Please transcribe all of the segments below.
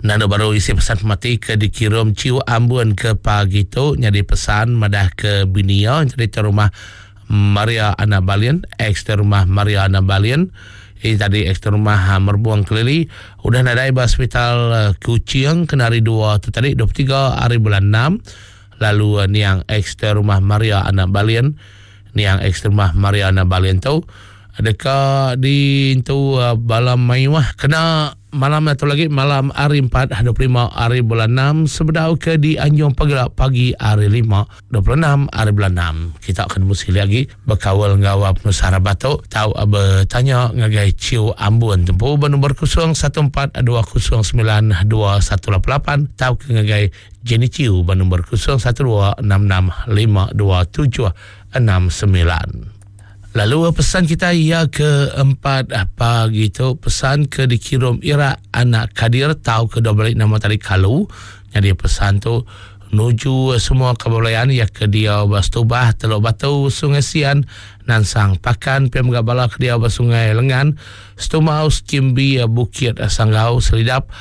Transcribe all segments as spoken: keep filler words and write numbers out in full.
Nanda baru isi pesan pemati ke dikirim Ciu Ambun ke pagi tu jadi pesan madah ke binia jadi rumah Maria Anak Balin, ex rumah Maria Anak Balin. Ini tadi ex rumah Merbuang Kelili udah nadai ba hospital Kuching kena hari dua tu tadi dua puluh tiga hari bulan enam. Lalu niang ex rumah Maria Anak Balin, niang ex rumah Maria Anak Balin tu deka di tu bala mayuh kena malam atau lagi malam hari empat dua puluh lima hari bulan enam sebedau ke di Anjung Pagila pagi hari lima dua puluh enam hari bulan enam. Kita akan mesti lagi berkawal ngau penusah batuk tau bertanya ngagai Ciu Ambun tempu bernombor kosong satu empat dua kosong sembilan dua satu lapan lapan tau ke ngagai Jenny Ciu bernombor kosong satu dua enam enam lima dua tujuh enam sembilan. Lalu pesan kita ia keempat pagi tu pesan ke dikirim Ira Anak Kadir tau ke dua balik nama tadi Kalu. Jadi pesan tu nuju semua kebelayan ya ke dia Bastubah Teluk Batu Sungai Sian Nansang Pakan P M Gabala ke dia Sungai Lengan Stumau Skimbi Bukit Sanggau Selidap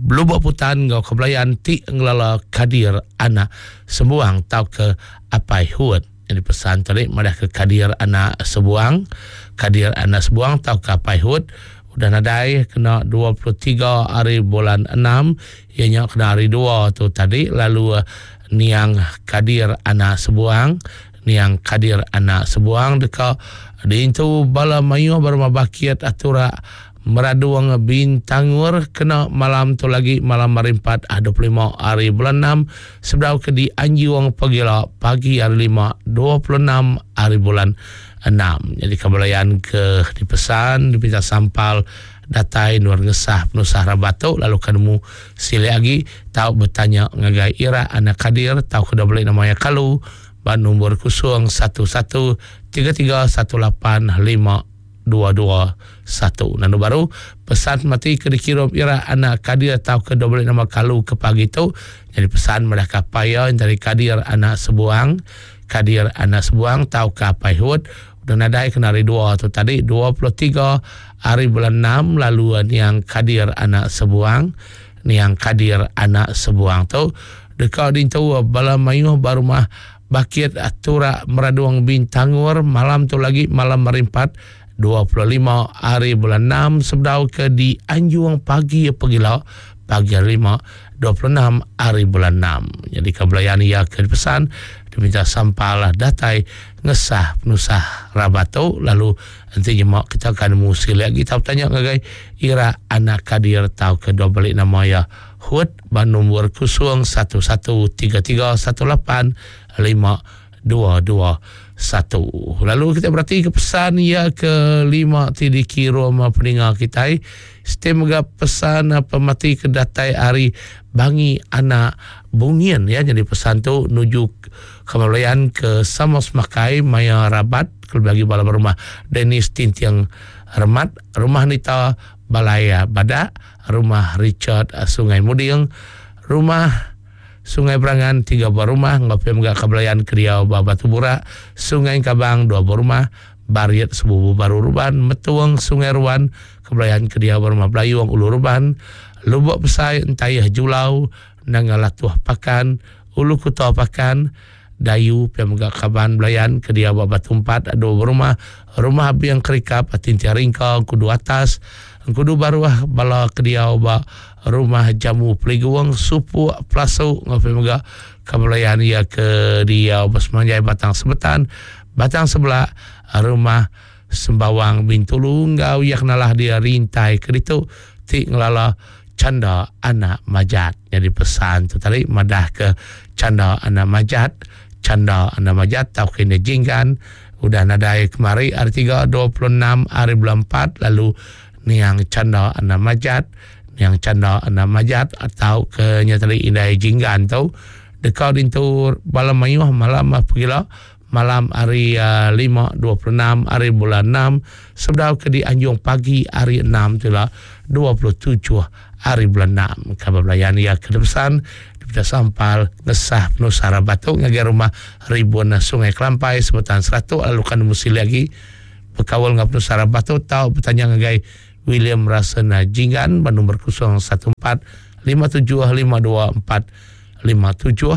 Lubuk Putan ngau kebelayan ti ngelala Kadir Anak Sembuang tau ke Apai Huat. Jadi pesan tadi madah ke Kadir Anak Sebuang, Kadir Anak Sebuang tau ke Apai Hud udah nadai kena dua puluh tiga hari bulan enam ianya kena hari dua tu tadi. Lalu niang Kadir Anak Sebuang, niang Kadir Anak Sebuang deka diintu bala mayuh berumah bakit atura Meraduang Bintangur kena malam tu lagi malam hari empat dua puluh lima hari bulan enam sebedau ke di Anjuang Pagila pagi hari lima dua puluh enam hari bulan enam. Jadi kebelayan ke dipesan dipinta sampal datai nuar ngesah penusah rabatuk lalu kanemu sile lagi tau bertanya ngagai Ira Anak Kadir tau ke beli namanya Kalu ban nombor kosong satu satu tiga tiga satu lapan lima dua dua satu. Nanu baru pesan mati ke dikirim Ira Anak Kadir atau ke dua balik nama Kalu ke pagi tu. Jadi pesan madah kapaya dari Kadir Anak Sebuang, Kadir Anak Sebuang tau ke Apai Hud udah nadai kena hari dua tu tadi dua puluh tiga hari bulan enam. Lalu niang Kadir Anak Sebuang, niang Kadir Anak Sebuang tu deka dintu bala mayuh barumah Bakit Atura Meraduang Bintangur malam tu lagi malam hari empat dua puluh lima hari bulan enam sebedau ke di Anjuang pagi pegila pagi hari lima dua puluh enam hari bulan enam. Jadi kebelayan ia ke pesan diminta sampalah datai ngesah penusah rabatu lalu nanti jemak kita akan musi lagi tau tanya ngagai Ira Anak Kadir tau ke dua balik nama ya Hud ban nombor kosong satu satu tiga tiga satu lapan lima dua dua satu. Lalu kita berarti ke pesan ya ke lima ti dikirim peninga kita. Sistem juga pesan pemati ke datai hari Bangi Anak Bungin ya. Jadi pesan tu nuju kemalayan ke Samos Makai Maya Rabat bagi bala rumah Dennis Tintiang Remat, rumah Nita Balaya Badak, rumah Richard Sungai Muding, rumah Sungai Berangan tiga buah rumah, ngopi megak kebelayan Keriau Batu Burak, Sungai Kabang dua buah rumah, Bariet Sebubu Baru Ruban, Metuang Sungai Ruan, kebelayan Keriau Rumah Belayung Ulu Ruban, Lubuk Pesai Entayah Julau, Nangalatuh Pakan, Ulu Kuta Pakan, Dayu pia megak Kaban Belayan Keriau Batu Empat dua buah rumah, Rumah Biang Kerikap Tintia Ringka Kudu Atas, Kudu Baruah Bala Keriau Ba Rumah Jamu Peliguang Supu Pelasu ngopi mega kebelayan ia ke dia Bersemanjai Batang Sebetan Batang Sebelah Rumah Sembawang Bintulu ngau ia kenalah dia rintai ke ditu ti ngelala Canda Anak Majat. Jadi pesan tu tadi madah ke Canda Anak Majat, Canda Anak Majat tau kena jinggan udah nadai kemari hari tiga dua puluh enam hari bulan empat lalu niang Canda Anak Majat, niang Canda Anak Majat atau ke nyatali indai jinggan tu dekau dintur bala mayuh malam pergila malam hari uh, lima dua puluh enam hari bulan enam sebedau ke di Anjung pagi hari enam tu lah dua puluh tujuh hari bulan enam. Kabar belayan ia ke depan daripada sampal ngesah penusah batuk ngagai rumah ribuan Sungai Kelampai sebutan seratus lalu kan mesti lagi berkawal dengan penusah batuk tau bertanya ngagai William Rasena Jinggan bernombor kosong satu empat lima tujuh lima dua empat lima tujuh,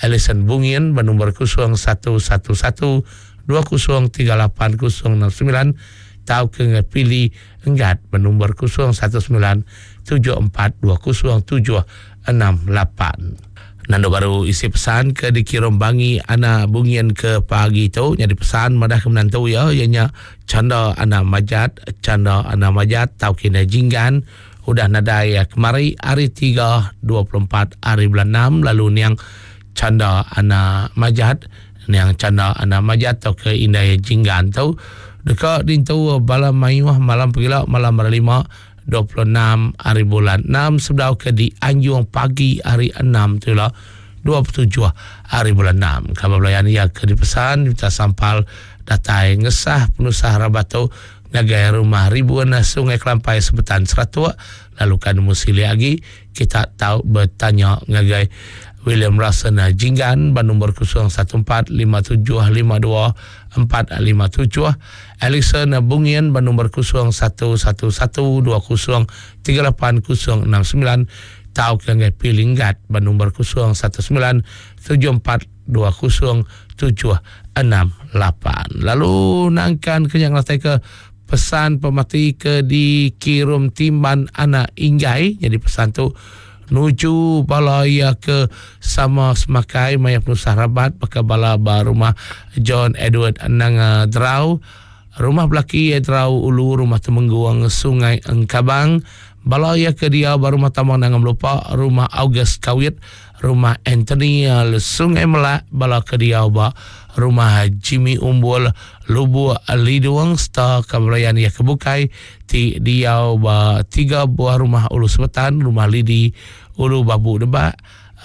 Alison Bungin bernombor kosong satu satu satu dua kosong tiga lapan kosong enam sembilan, tau ke ngepili enggat bernombor kosong satu sembilan tujuh empat dua kosong tujuh enam lapan. Nando baru isi pesan ke dikirim bangi anak bungin ke pagi tu jadi pesan madah ke menantu ya ianya canda anak majat, canda anak majat tau kena jinggan udah nadai ya, kemari hari tiga dua puluh empat hari bulan enam lalu niang canda anak majat, niang canda anak majat tau ke indai jinggan tu dekat dintu bala mayuh malam pegila malam hari lima dua puluh enam hari bulan enam sebedau ke di Anjung pagi hari enam tu lah dua puluh tujuh hari bulan enam. Khabar belayan ia ke dipesan minta sampal datai ngesah penusah rabatu ngagai rumah ribuan Sungai Kelampai Sebetan Seratuk lalu kan musili lagi kita tahu bertanya ngagai William Russell Jinggan bernombor kosong satu empat lima tujuh lima dua empat lima tujuh, Alison Bungin bernombor kosong satu satu satu dua kosong tiga lapan kosong enam sembilan, tau ke ngagai Pilinggat bernombor kosong satu sembilan tujuh empat dua kosong tujuh enam lapan. Lalu nangkan kenyang lantai ke pesan pemati ke dikirim timban anak inggai jadi pesan tu nuju bala ia ke sama semakai maya penusah rabat pakai bala ba rumah John Edward Nanga Drau, rumah belaki Drau Ulu, rumah Temengguang Sungai Engkabang, bala ia ke dia ba rumah Tamang Nanga Melupa, rumah August Kawit, rumah Anthony Sungai Melak, bala ke dia ba rumah Jimmy Umbul Lubu Liduang serta kebelayan ia kebukai ti diau ba tiga buah rumah Ulu Sebetan, rumah Lidi Ulu Babu Debak,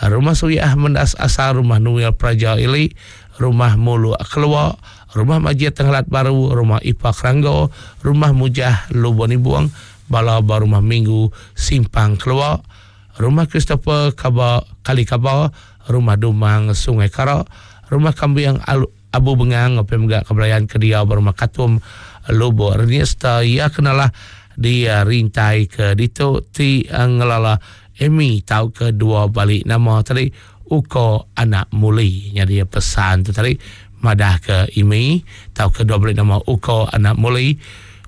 rumah Suyah Mendas Asar, rumah Nuil Praja Ili, rumah Mulu Keluar, rumah Majid Tenggelat Baru, rumah Ipa Keranggo, rumah Mujah Lubon Ibuang, bala ba rumah Minggu Simpang Keluar, rumah Christopher Kaba Kali Kaba, rumah Dumang Sungai Karak, rumah Kambing Abu Bengang, apa juga kebelayan kedia berumah Katum Lubuk Renista ia kenalah dia rintai ke dito ti ngelala Emi tau ke dua balik nama tadi Uko anak muli. Jadi pesan tu tadi madah ke Emi tau ke dua balik nama Uko anak muli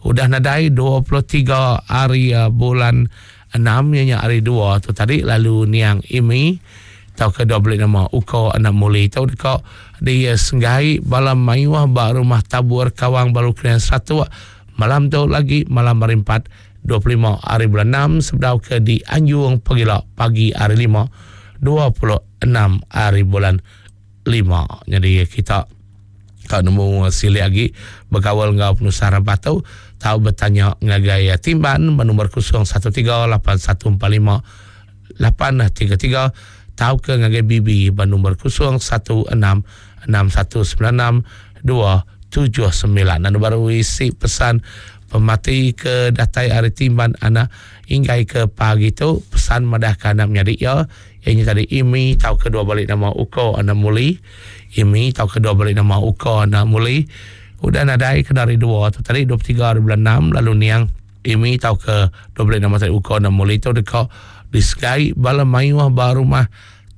udah nadai dua puluh tiga hari bulan enam ianya hari dua tu tadi lalu niang Emi tau ke dua balik nama Uko anak muli tau dekat dia senggai bala mayuah ba rumah tabur Kawang Baru Krian satu malam tu lagi malam hari empat dua puluh lima hari bulan enam sebedau ke di Anjung Pegila pagi hari lima dua puluh enam hari bulan lima. Jadi kita tak nemu silik lagi berkawal ngau penusah rabatu tahu bertanya ngagai timban bernombor kosong satu tiga lapan satu empat lima lapan tiga tiga tahu ke ngagai Bibi bernombor kosong satu enam enam satu sembilan enam dua tujuh sembilan. Dan baru isi pesan pemati ke datai hari timban anak hingga ke pagi tu pesan madah ke anak menyadik ya ianya tadi Imi tahu kedua balik nama Uko anak muli, Imi tahu kedua balik nama Uko anak muli udah nadai ke dari dua tu tadi dua puluh tiga hari bulan enam lalu niang Imi tahu ke dua balik nama tadi Uko anak muli tu dekat di Sky bala mayuah ba rumah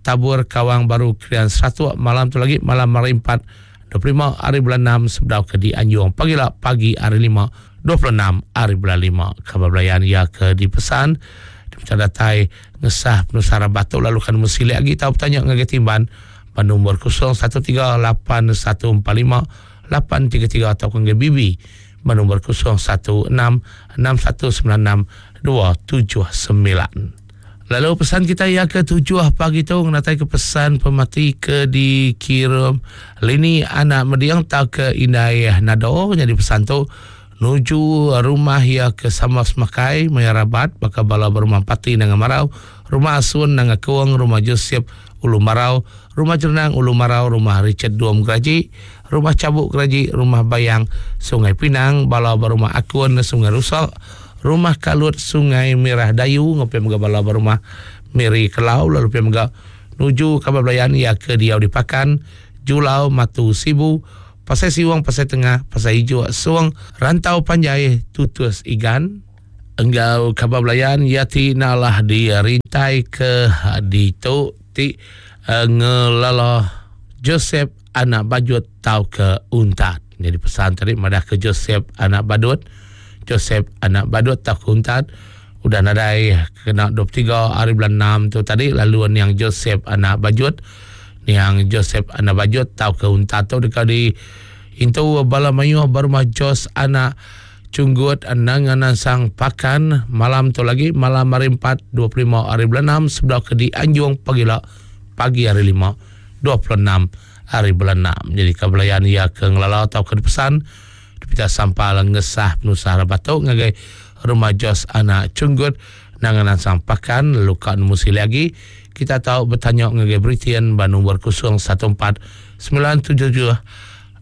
tabur Kawang Baru Krian satu malam tu lagi malam hari empat dua puluh lima hari bulan enam sebedau ke di Anjung pagi lah pagi hari lima dua puluh enam hari bulan lima. Khabar belayan ia ke dipesan macam datai ngesah penusara batuk lalu kan mesti lagi tahu bertanya ngagai timban nombor kosong satu tiga lapan satu empat lima lapan tiga tiga atau ke Bibi nombor kosong satu enam enam satu sembilan enam dua tujuh sembilan. Lalu pesan kita yang ketujuh pagi tu mengenai ke pesan pemati ke dikirim lini anak mediang tau ke indai nado jadi pesan tu nuju rumah ya ke sama semakai mayarabat bakal bala berumah pati nanga marau, rumah asun nanga kuang, rumah Joseph Ulu Marau, rumah Jernang Ulu Marau, rumah Richard Duom Geraji, rumah Cabuk Geraji, rumah Bayang Sungai Pinang, bala berumah Akun Sungai Rusak, rumah Kalut Sungai Merah Dayu, ngopi mega bala berumah Miri Kelau, lalu pi mega nuju kabar belayan ya ke diau dipakan Julau Matu Sibu, Pasai Siwang, Pasai Tengah, Pasai Hijau, Suang, Rantau Panjai, Tutus Igan, Enggau kaban belayan iya ti nalah dirintai ke ditu ti ngelala Joseph anak Bajut tauka Untat. Jadi pesan tadi madah ke Joseph anak Badut, Joseph anak Badut tauka Untat udah nadai kena dua puluh tiga hari bulan enam tu tadi, lalu niang Joseph anak Bajut, niang Joseph anak Bajut tauka Untat tu deka di intu bala mayuh berumah Jos anak Cunggut Nanganan Sang Pakan malam tu lagi malam hari empat dua puluh lima hari bulan enam sebedau ke dianjung pagila pagi hari lima dua puluh enam hari bulan enam. Jadi kebelayan ia ke ngelala atau ke pesan dipita sampal ngesah penusah rabatuk ngagai rumah Jos anak Cunggut Nanganan Sang Pakan luka nemu sili lagi kita tahu bertanya ngagai Britian ba nombor kosong satu empat sembilan tujuh tujuh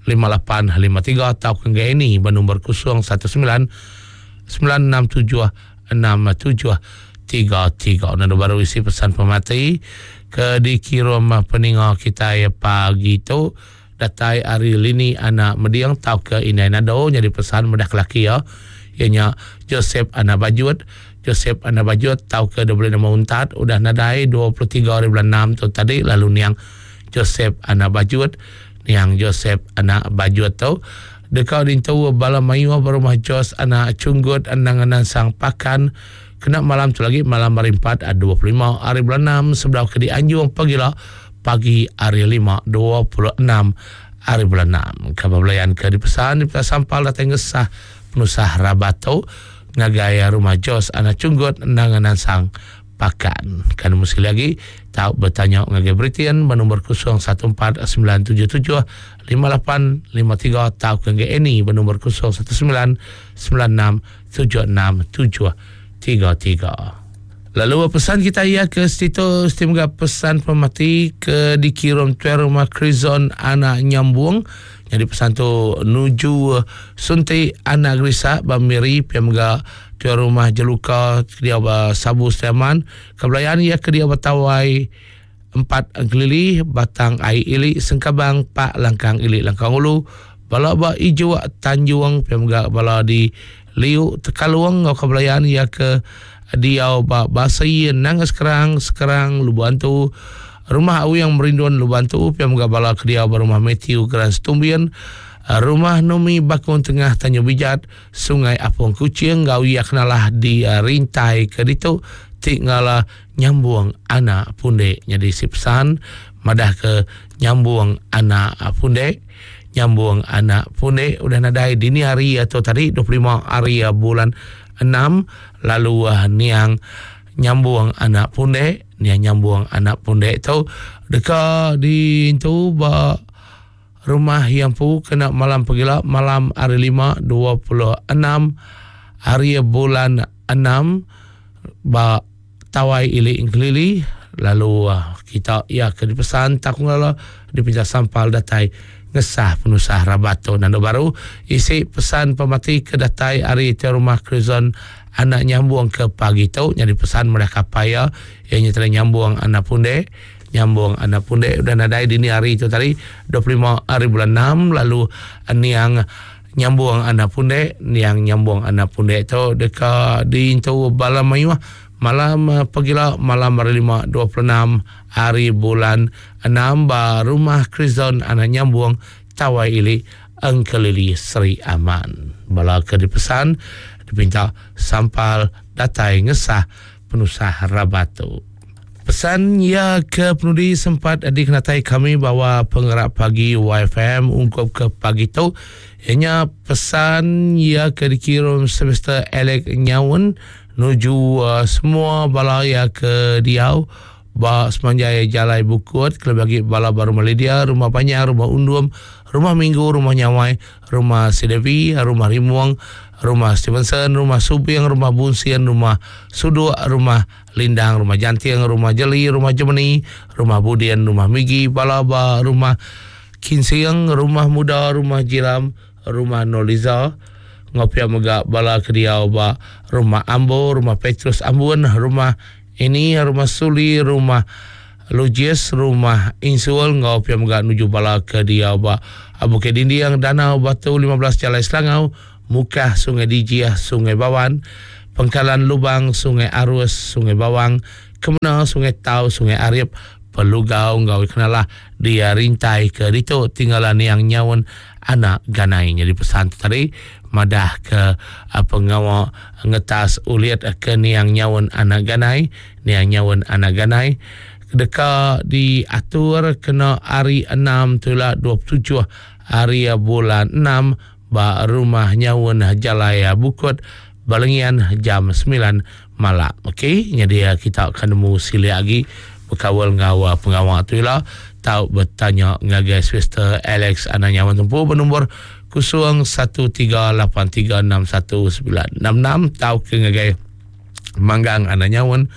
lima lapan lima tiga atau ke ini ba nombor kosong satu sembilan sembilan enam tujuh enam tujuh tiga tiga. Nanda baru isi pesan pemati ke dikirim peninga kita pagi tu datai hari lini anak mediang tau ke inai nado jadi pesan medah kelaki ya ianya Joseph anak Bajut, Joseph anak Bajut tau ke dua puluh lima untat udah nadai dua puluh tiga hari bulan enam tu tadi, lalu niang Joseph anak Bajut, niang Joseph anak Bajut tu dekat dintu bala mayuh berumah Jos anak Cunggut Ananganan Sang Pakan kena malam tu lagi malam hari empat dua puluh lima hari bulan enam sebelah ke dianjung pagila pagi hari lima dua puluh enam hari bulan enam. Khabar belayan ke dipesan di sampal datang ngesah penusah rabato ngagai rumah Jos anak Cunggut Ananganan Sang Pakan. Kan mesti lagi tahu bertanya ngagai Britian bernombor kosong satu empat sembilan tujuh tujuh lima lapan lima tiga atau ke Eni bernombor kosong satu sembilan sembilan enam tujuh enam tujuh tiga tiga. Lalu pesan kita ia ke situ semoga pesan pemati ke dikirim tuan rumah Krizon anak Nyambung. Jadi pesan tu nuju sunti anak Grisa Bamiri piamga tuan rumah Jeluka dia Sabu Setiaman kebelayan ia ke dia Batawai empat Gelili Batang Ai Ili Sengkabang Pak Langkang Ili Langkang Ulu bala ba Ijo Tanjung piamga bala di Liu Tekaluang ngau kebelayan ia ke dia ba Basai Nang Sekerang Sekerang Lubantu rumah Awi yang Merindun Lubantu piamga bala ke dia rumah Matthew Grand Stumbian rumah Nomi Bakun Tengah Tanjung Bijat Sungai Apung Kucing gau ia kenalah di uh, rintai ke ditu tik ngala nyambung anak pundek jadi si pesan madah ke nyambung anak pundek nyambung anak pundek udah nadai dini hari atau tadi dua puluh lima hari bulan enam lalu uh, niang nyambung anak pundek niang nyambung anak pundek tu deka di tu ba rumah yang pu kena malam pegila malam hari lima dua puluh enam hari bulan enam ba Tawai Ili Ingkelili lalu uh, kita ia ke dipesan tak ngala dipinjam sampal datai ngesah penusah rabato nando baru isi pesan pemati ke datai hari te rumah Krizon anak nyambung ke pagi tu jadi pesan mereka paya ianya telah nyambung anak pundek nyambung anak pundek udah nadai dini hari itu tadi dua puluh lima hari bulan enam lalu niang nyambung anak pundek niang nyambung anak pundek tu deka diintu bala mayuh malam pagila malam hari lima dua puluh enam hari bulan enam ba rumah Krizon anak nyambung Tawai Ili Engkelili Seri Aman. Bala ke dipesan dipinta sampal datai ngesah penusah rabatu. Pesan ya ke penudi sempat dikenatai kami bahawa penggerak pagi Y F M ungkup ke pagi tu ianya pesan ya ke dikirim semester Alec Nyaun nuju uh, semua bala ya ke diau ba semanjai Jalai Bukut kelebih lagi bala baru Malaysia rumah Panjang rumah Undum rumah Minggu rumah Nyawai rumah Sidevi rumah Rimuang rumah Stevenson rumah Subiang rumah Bunsian rumah Suduk rumah Lindang rumah Jantiang rumah Jeli rumah Jemeni rumah Budian rumah Migi bala ba rumah Kinsiang rumah Muda rumah Jilam rumah Noliza ngopia mega bala kediau ba rumah Ambo rumah Petrus Ambun rumah ini rumah Suli rumah Lujies rumah Insul ngopia mega nuju bala kediau ba Bukit Dinding Danau Batu lima belas Jalai Selangau Mukah Sungai Dijiah Sungai Bawan Pengkalan Lubang, Sungai Arus, Sungai Bawang, Kemena, Sungai Tau, Sungai Arip, Pelugau enggau Kenalah dia rintai ke ditu tinggalan yang nyaun anak ganai. Jadi pesan tu tadi madah ke pengawa ngetas ulit ke niang nyaun anak ganai, niang nyaun anak ganai deka diatur kena hari enam tula dua puluh tujuh hari bulan enam ba rumah nyaun Jalai Bukut Balengian jam sembilan malam. Okey, jadi kita akan nemu silik lagi berkawal ngau pengawa tu ila. Tau bertanya ngagai Sister Alex anak nyawan tempu bernombor kosong satu tiga lapan tiga enam satu sembilan enam enam tau ke ngagai Manggang anak nyawan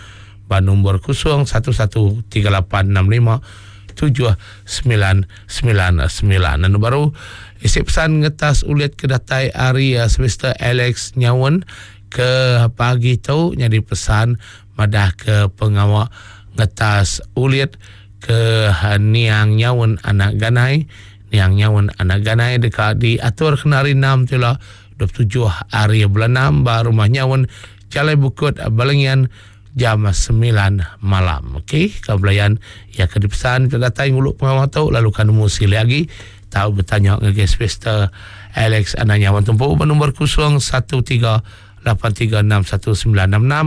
bernombor kosong satu satu tiga lapan enam lima tujuh sembilan sembilan sembilan. Dan baru isi pesan ngetas ulit ke datai hari uh, Sister Alex nyawan ke pagi tu jadi pesan madah ke pengawak ngetas ulit ke niang nyaun anak ganai, niang nyaun anak ganai dekat diatur kena hari enam tu lah dua puluh tujuh hari bulan enam ba rumah nyaun Jalai Bukut Balengian jam sembilan malam. Okey, kau belayan ya ke dipesan ke datai nguluk pengawal tu lalu kan nemu sili lagi tahu bertanya ngagai Sister Alex anak nyawan tumpu bernombor kosong satu tiga lapan tiga enam satu sembilan enam enam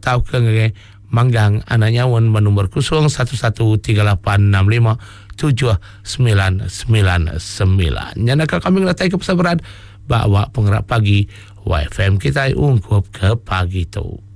tahu ke ngagai Manggang anak nyawan bernombor kosong satu satu tiga lapan enam lima tujuh sembilan sembilan sembilan. Nyana kami ngelatai ke pesan berat bawa penggerak pagi Y F M kita ungkup ke pagi tu.